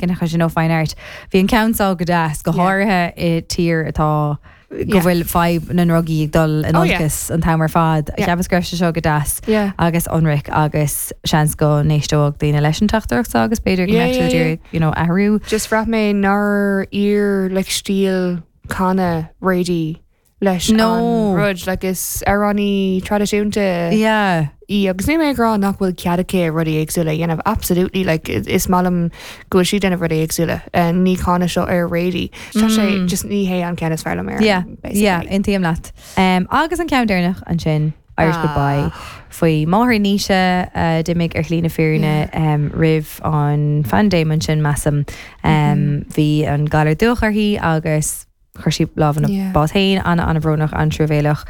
Cineachais nó Fine Art. Bhí an ceann seo go deas, go háirithe i tír atá go bhfuil fadhb na ndrugaí ag dul in olcas an t-am ar fad. Cheapas go raibh sé seo go deas agus ionraic agus seans go n-éisteodh daoine leis an teachtaireacht seo agus b'fhéidir go mbeadh siad ag iarraidh you know, athrú. Just bhraith mé nár oir like stíl canadh Radie leis No. an rud like is amhránaí traidisiúnta Yeah. í agus níl mé ag rá nach bhfuil cead aici rudaí éagsúla a dhéanamh absolutely like is maith liom go bhfuil sí ag déanamh rudaí éagsúla uh, ní cáineadh seo ar Radie tá sé just ní hé an ceann is fearr liom ar Yeah, yeah, aontaím leat. Um, agus an ceann deireanach ansin Irish ah. Goodbye faoi máthair Naoise uh, d'imigh ar shlí na fírinne um, roimh an phaindéim ansin measaim. Um, mm -hmm. Bhí an galar dubhach uirthi agus Chuir sí lámh ina bás féin, an-an-bhrónach, an-truamhéalach.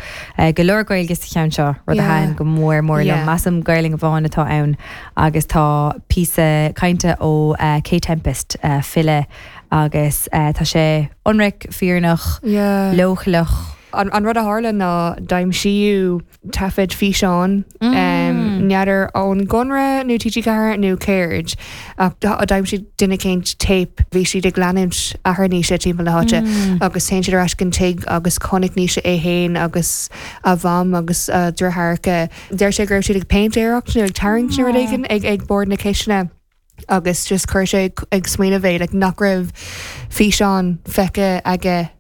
Go leor Gaeilge sa cheann seo, rud a thaitin go mór mór liom. Measaim Gaelainn amháin atá ann agus tá píosa cainte ó Kae Tempest, file, agus tá sé ionraic, fírinneach, leochaileach. An rud a tharla ná d'aimsíodh taifead físeáin, n'fheadar ón gConradh nó TG4 nó céard, ach d'aimsigh duine éicint téip, bhí siad ag leanúint athair Naoise timpeall na háite agus théann siad ar ais go an tigh agus chonaic Naoise é féin agus a mham agus a dheartháireacha. Deir sé go raibh siad ag péintéireacht nó ag tarraingt nó rud éigin ag bord na cistine agus just chuir sé ag smaoineamh é like nach raibh físeán feicthe aige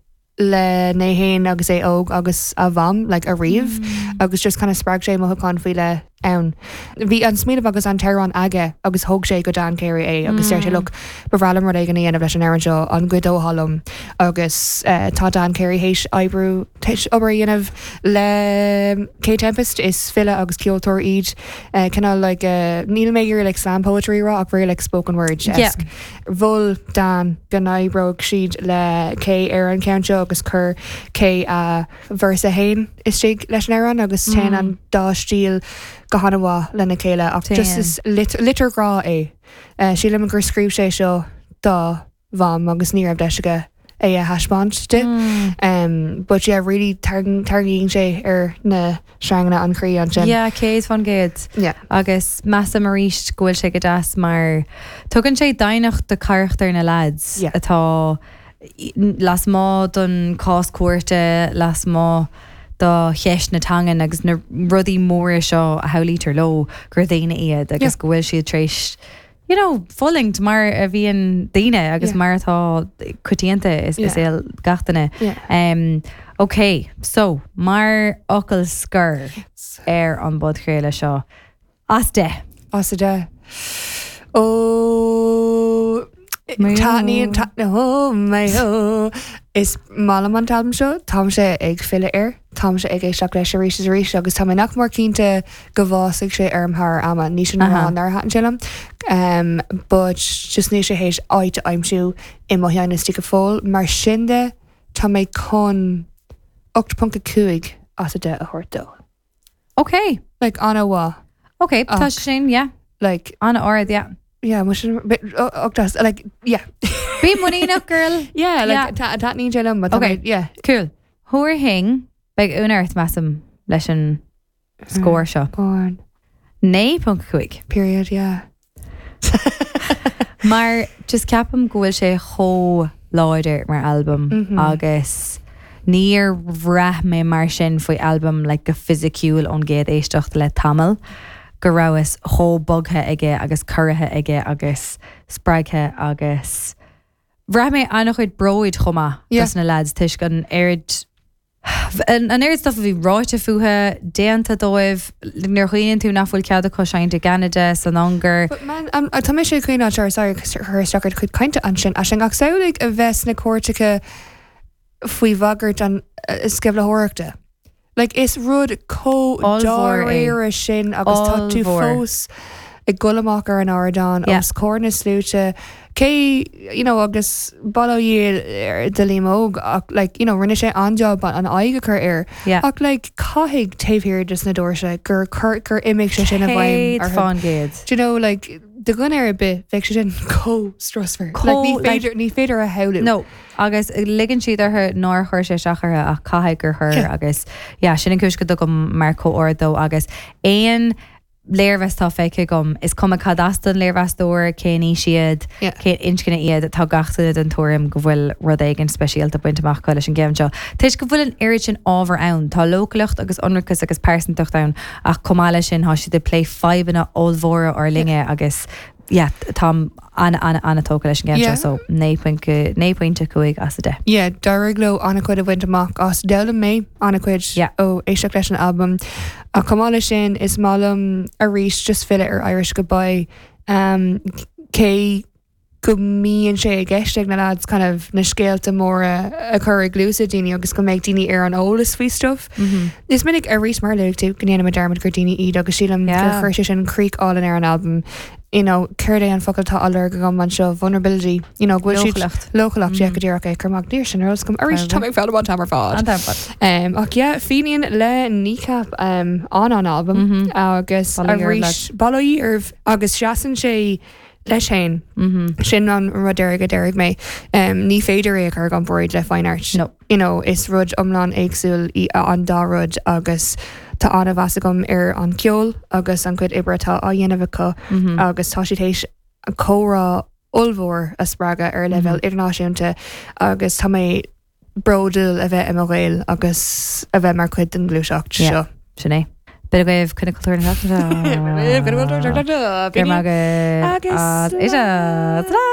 le é féin agus é óg agus a mham like ariamh agus just kind of spreag sé mothúchán faoi leith ann. Bhí an smaoineamh agus an t-amhrán aige agus thóg sé go Dan Carey é agus deir sé look ba bhreá liom rud éigin a dhéanamh leis an amhrán seo an gcuideofá liom agus eh, tá Dan Carey théis oibriú théis obair a dhéanamh le Kae Tempest is file agus ceoltóir iad eh, cineál like eh, níl mé ag iarraidh like slam poetry a rá ach really like spoken word Yeah. Mhol Dan go n-oibreodh siad le Kae ar an cheann seo agus chuir Kae a véarsa féin istigh leis an amhrán agus téann an dá stíl go han-mhaith lena chéile ach just is litir ghrá é. Sílim gur scríobh sé seo dá mham agus ní raibh deis aige é a thaispeáint di. But yeah, really tarraingíonn sé ar na sreanganna an chroí ansin. Yeah, 100%. Yeah. Agus measaim arís go bhfuil sé go deas mar tugann sé doimhneacht do charachtar na lads Yeah. atá lasmuigh don cás cúirte, lasmuigh do cheist na teangan agus na rudaí móra seo a shamhlaítear leo gur daoine iad agus Yeah. go bhfuil siad tar éis you know, fulaingt mar a bhíonn daoine agus Yeah. mar atá coitianta i Yeah. saol gach duine. Yeah. Um, ok, so mar fhocal scoir ar an bpodchraoladh seo, as 10. As 10. Ó taitníonn ó my ó Is maith liom an t-albam seo, táimse ag filleadh air, táimse ag éisteacht leis arís is arís agus tá mé nach mór cinnte go bhfásfaidh sé orm thar ama. Ní sin a rá nár thaitin sé liom, um, but just níl sé théis áit a aimsiú i mo cheann istigh go fóill. Mar sin de, tá mé chun 8.5 as 10 a thabhairt dó. Ok. Like, an-mhaith. Ok, tá sé sin, yeah. Like, An-ard, yeah. yeah, mo sin, ocht as, like, yeah. Bí muiníneach, girl. Yeah, like, taitníonn sé liom, but tá Ok. mé, yeah. Cool. Thabharfainn, beidh ionadh ort, measaim, leis an scór seo. Go on. 9.5. Period, yeah. Mar just ceapaim go bhfuil sé chomh láidir mar albam agus níor bhraith mé mar sin faoi albam like go fisiciúil ón gcéad éisteacht le tamall, go rabhas chomh bogtha aige agus corraithe aige agus spreagtha agus bhraith mé an-chuid bróid chomh maith dos na lads toisc an oiread An oiread stuff a bhí ráite fúthu, déanta dóibh, nuair a chuimhníonn tú nach bhfuil cead acu seinnt i gCeanada, san Ungáir. But man, tá mise ag cuimhneamh, sorry, sorry, chur isteach ar do chuid cainte ansin, Aisling, ach samhlaigh a bheith sna cúirteacha faoi bhagairt an sceimhlitheoireachta. Like, is rud chomh Ollmhór é. dáiríre sin agus tá tú Ollmhór. fós ag dul amach ar an ardán Yeah. os comhair na sluaite, Cé, you know, agus bail ó Dhia do Liam Óg ach like, you know, rinne sé an-job an aghaidh a chur air. Yeah. Ach like, caithfidh taobh thiar de sna doirse gur chur, gur imigh sé sin i bhfeidhm orthu. 100%. Do you know, like, do dhuine ar bith, bheadh sé sin chomh strusmhar. Like, ní Chomh, like- féidir, ní féidir a shamhlú. No, agus ligeann siad orthu nár chuir sé isteach orthu ach caithfidh gur chuir Yeah. agus yeah, sin an cúis go dtugaim marc chomh ard dó agus aon. léirmheas atá feicthe agam, is cuma cad as don léirmheastóir, cén aois iad, cén inscne iad, tá gach duine den tuairim go bhfuil rud éigin speisialta bainte amach acu leis an gceann seo. Toisc go bhfuil an oiread sin ábhar ann, tá leochaileacht agus ionracas agus pearsantacht ann ach chomh maith leis sin tá siad ag plé fadhbanna ollmhóra ár linne agus yeah, táim an-an-an-tógtha leis an gceann seo so 9.5 as 10. Yeah, d'éirigh leo an-chuid a bhaint amach as. D'fhoghlaim mé an-chuid ó éisteacht leis an albam. Ach chomh maith leis sin, is maith liom arís just filleadh ar Irish Goodbye. Um, cé go mbíonn sé i gceist ag na lads kind of na scéalta móra a chur i gcluasa daoine agus go mbeidh daoine ar an eolas faoi stuff. Mm -hmm. Is minic arís mar a luaigh tú go ndéanaimid dearmad gur daoine iad agus sílim gur chuir sé sin crích álainn ar an albam. You know, céard é an focal atá á lorg agam anseo vulnerability, you know, go bhfuil siad Leochaileacht. leochaileacht yeah, go díreach é cur amach níor sin ar eolas agam arís tá mé ag foghlaim an t-am ar fad. An t-am ar fad. Um, ach yeah, Fenian le Kneecap um, an an albam agus Bail ó Dhia oraibh, arís bail ó Dhia oraibh agus seasann sé leis féin. Sin an rud deiridh a déarfaidh mé. Um, ní féidir é a chur i gcomparáid le Fine Art. No. You know, is rud iomlán éagsúil í an dá rud agus tá an-mheas agam ar an ceol agus an chuid oibre atá á dhéanamh acu agus tá siad théis comhrá ollmhór a spreagadh ar leibhéal idirnáisiúnta agus tá mé bródúil a bheith i mo Ghael agus a bheith mar chuid den ghluaiseacht seo. Sin é. B'in agaibh Coinne Cultúir na seachtaine seo. Go raibh maith agaibh. Agus Agus.